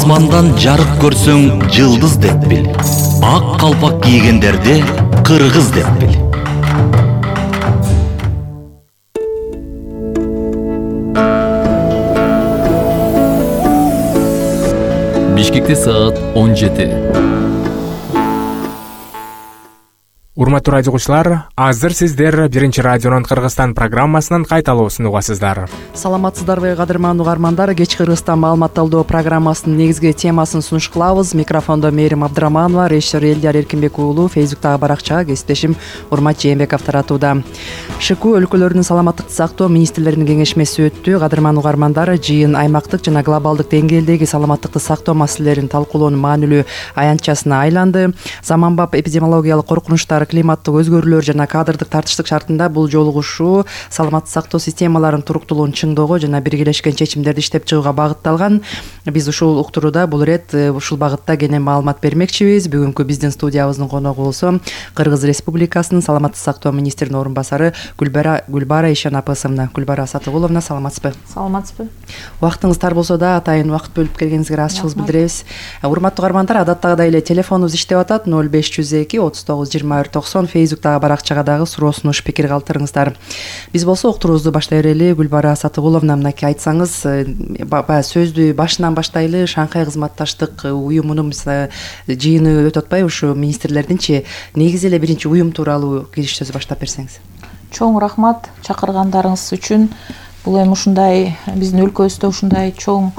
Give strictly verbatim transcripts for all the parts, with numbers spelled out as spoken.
асмандан жарык көрсөң жылдыз деп бил. Ак калпак кийгендерди кыргыз деп бил. Бишкекте саат он жети. Урматтуу радио угуучулар, азыр сиздер Биринчи радионун Кыргызстан программасынын кайталоосун угасыздар. Саламатсыздарбы, кадырман угармандар? Кеч Кыргызстан маалымат талдоо программасынын негизги темасын сунуш кылабыз. Микрофондо Мээрим Абдыраманова, режиссер Элдияр Эркинбек уулу, Фейсбуктагы баракчага кесиптешим Урмат Жээнбеков таратууда. ШК өлкөлөрүнүн саламаттыкты сактоо министрлеринин кеңешмеси өттү. Кадырман угармандар, жыйын аймактык жана глобалдык деңгээлдеги саламаттыкты сактоо маселелерин талкуулоонун маанилүү аянтчасына айланды. Заманбап эпидемиологиялык коркунучтар, климаттык өзгөрүүлөр жана кадрдык тартыштык шартында бул жолугушуу саламаттык сактоо системаларынын туруктуулугун чыңдоого жана биргелешкен чечимдерди иштеп чыгууга багытталган. Биз ушул уктурууда бул ирет ушул багытта кенен маалымат бермекчибиз. Бүгүнкү биздин студиябыздын коногу болсо Кыргыз Республикасынын саламаттык сактоо министринин орун басары Гүлбара Гүлбара Ишан апасына. Гүлбара Сатыгуловна, саламатсызбы? Саламатсызбы. Убактыңыз тар болсо да атайын убакыт бөлүп келгениңизге ыраазычылыгыбызды билдиребиз. Урматтуу угармандар, адаттагыдай эле телефонубуз иштеп атат: ноль беш жүз эки отуз тогуз жыйырма бир токсон. Фейсбуктагы баракчага дагы суроо сунуш, пикир калтырыңыздар. Биз болсо уктуруубузду баштай берели. Гүлбара Сатыгуловна, мынакей айтсаңыз, баягы сөздү башынан баштайлы. Шанхай кызматташтык уюмунун жыйыны өтүп атпайбы ушу министрлердинчи? Негизи эле биринчи уюм тууралуу кириш сөз баштап берсеңиз. Чоң рахмат чакыргандарыңыз үчүн. Бул эми ушундай биздин өлкөбүздө ушундай чоң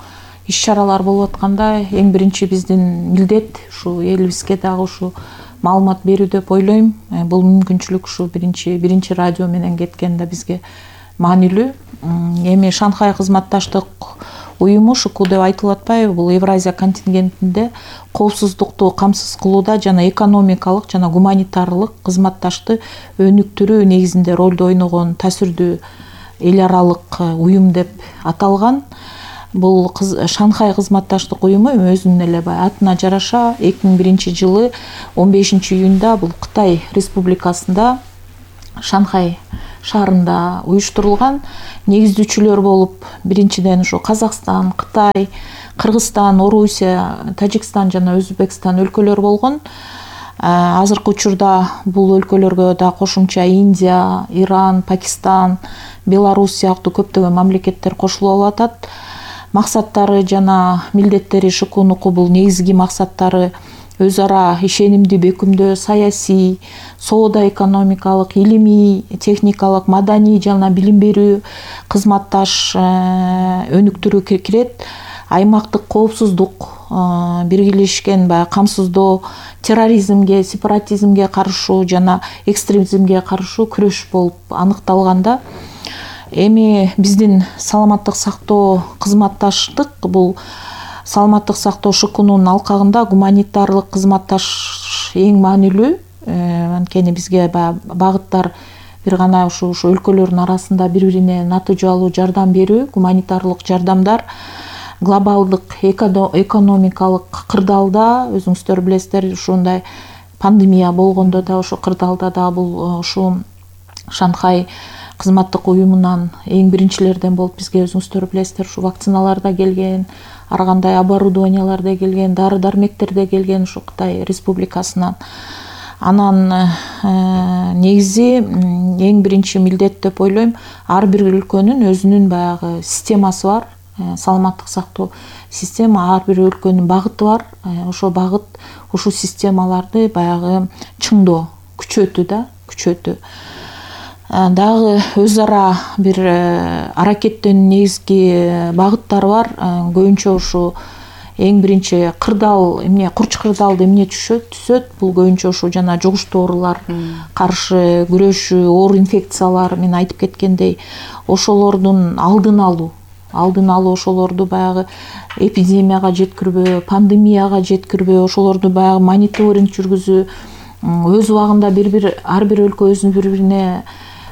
иш-чаралар болуп атканда эң биринчи биздин милдет ушу элибизге дагы ушу маалымат берүү деп ойлойм. Бул мүмкүнчүлүк ушу биринчи биринчи радио менен кеткенде бизге маанилүү. Эми Шанхай кызматташтык уюму ШК деп айтылып атпайбы? Бул Евразия контингентинде коопсуздукту камсыз кылууда жана экономикалык жана гуманитарлык кызматташты өнүктүрүү негизинде ролду ойногон таасирдүү эл аралык уюм деп аталган. Бул Шанхай кызматташтык уюму өзүнүн эле баягы атына жараша эки миң биринчи жылы он бешинчи июнда бул Кытай Республикасында Шанхай шаарында уюштурулган. Негиздүүчүлөр болуп биринчиден ушу Казакстан, Кытай, Кыргызстан, Орусия, Тажикстан жана Өзбекстан өлкөлөр болгон. Азыркы учурда бул өлкөлөргө да кошумча Индия, Иран, Пакистан, Беларусь сыяктуу көптөгөн мамлекеттер кошулуп атат. Максаттары жана милдеттери ШКныкы бул негизги максаттары өз ара ишенимди бекемдөө, саясий, соода экономикалык, илимий, техникалык, маданий жана билим берүү, кызматташ өнүктүрүү кирет. Аймактык коопсуздук, биргелешкен баягы камсыздоо, терроризмге, сепаратизмге каршы жана экстремизмге каршы күрөш болуп аныкталганда, эми биздин саламаттык сактоо кызматташтык бул саламаттык сактоо ШКнын алкагында гуманитарлык кызматташ эң маанилүү. Анткени бизге багыттар бир гана ушу ушу өлкөлөрдүн арасында бири-бирине натыйжалуу жардам берүү, гуманитарлык жардамдар. Глобалдык экономикалык кырдаалда өзүңүздөр билесиздер, ушундай пандемия болгондо да ошо кырдаалда да бул ушу Шанхай кызматтык уюмунан эң биринчилерден болуп бизге өзүңүздөр билесиздер, ушу вакциналар да келген, ар кандай оборудованиялар да келген, дары-дармектер да келген ушу Кытай Республикасынан. Анан негизи эң биринчи милдет деп ойлойм, ар бир өлкөнүн өзүнүн баягы системасы бар. Саламаттык сактоо система ар бир өлкөнүн багыты бар. Ошо багыт ушул системаларды баягы чыңдоо, күчөтүү да, күчөтүү. Дагы өз ара бир аракеттин негизги багыттары бар. Көбүнчө ушу эң биринчи кырдаал, эмне курч кырдаалды эмне түшөт, түсөт. Бул көбүнчө ушу жана жугуштуу оорулар каршы күрөшүү, оор инфекциялар, мен айтып кеткендей, ошолордун алдын алуу. Алдын алуу, ошолорду баягы эпидемияга жеткирбөө, пандемияга жеткирбөө, ошолорду баягы мониторинг жүргүзүү, өз убагында бир-бир ар бир өлкө өзүнүн бири-бирине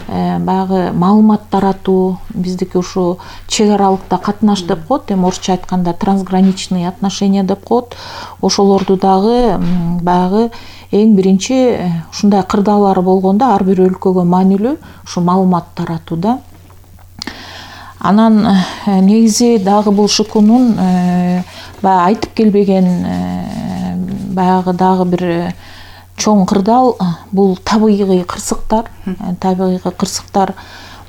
баягы маалымат таратуу. Биздики ушу чек аралыкта катнаш деп коет, эми орусча айтканда трансграничный отношения деп коет. Ошолорду дагы баягы эң биринчи ушундай кырдаалар болгондо ар бир өлкөгө маанилүү ушу маалымат таратуу да. Анан негизи дагы бул ШКнын баягы айтып келбеген баягы дагы бир чоң кырдаал бул табигый кырсыктар. Табигый кырсыктар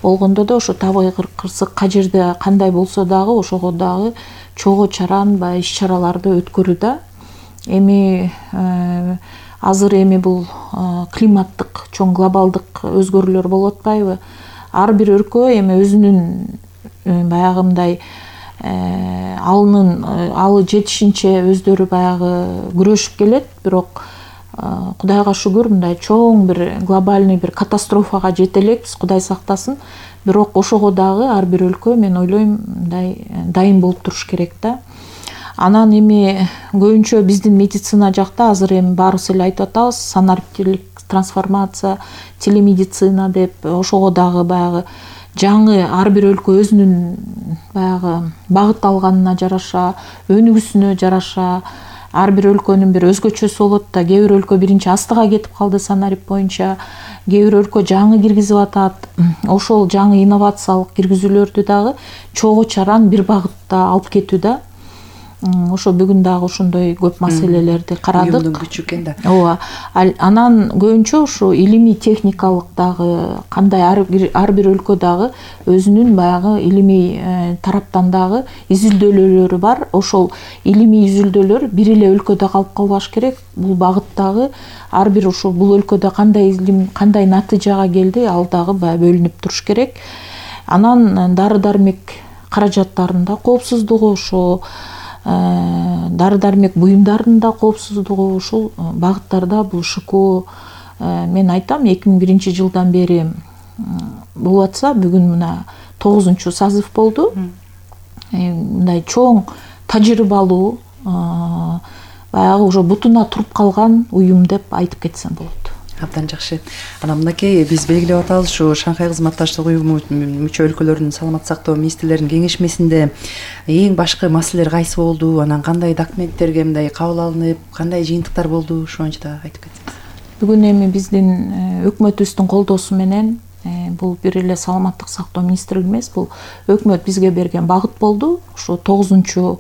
болгондо да ошо табигый кырсык кажерде кандай болсо дагы ошого дагы чогуу чаран баягы иш чараларды өткөрүү да. Эми азыр эми бул климаттык чоң глобалдык өзгөрүүлөр болуп атпайбы? Ар бир өлкө эми өзүнүн баягы мындай алынын алы жетишинче өздөрү баягы күрөшүп келет, бирок Кудайга шүгүр мындай чоң бир глобальный бир катастрофага жете элекпиз, Кудай сактасын. Бирок ошого дагы ар бир өлкө мен ойлойм мындай дайын болуп туруш керек да. Анан эми көбүнчө биздин медицина жакта азыр эми баарыбыз эле айтып атабыз, санариптик трансформация, телемедицина деп, ошого дагы баягы жаңы ар бир өлкө өзүнүн баягы багыт алганына жараша, өнүгүүсүнө жараша ар бир өлкөнүн бир өзгөчөсү болот да. Кээ бир өлкө биринчи астыга кетип калды санарип боюнча, кээ бир өлкө жаңы киргизип атат. Ошол жаңы инновациялык киргизүүлөрдү дагы чогуу чаран бир багытта алып кетүү да. Ошо бүгүн дагы ошондой көп маселелерди карадык. Уюмдун күчү экен да. Ооба. Анан көбүнчө ушу илимий техникалык дагы кандай ар бир өлкө дагы өзүнүн баягы илимий тараптан дагы изилдөөлөрү бар. Ошол илимий изилдөөлөр бир эле өлкөдө калып калбаш керек. Бул багыттагы ар бир ошол бул өлкөдө кандай илим, кандай натыйжага келди, ал дагы баягы бөлүнүп туруш керек. Анан дары-дармек каражаттарында коопсуздугу, ошо дары-дармек буюмдарынын да коопсуздугу, ушул багыттарда бул ШКО мен айтам эки миң биринчи жылдан бери болуп атса, бүгүн мына тогузунчу созыв болду. Мындай чоң тажрыйбалуу баягы уже бутуна туруп калган уюм деп айтып кетсем болот. Абдан жакшы. Анан мынакей биз белгилеп атабыз, ушу Шанхай кызматташтык уюму мүчө өлкөлөрүнүн саламаттык сактоо министрлеринин кеңешмесинде эң башкы маселелер кайсы болду? Анан кандай документтерге мындай кабыл алынып, кандай жыйынтыктар болду? Ошо боюнча да айтып кетсеңиз. Бүгүн эми биздин өкмөтүбүздүн колдоосу менен бул бир эле саламаттык сактоо министрлиги эмес, бул өкмөт бизге берген багыт болду. Ошо тогузунчу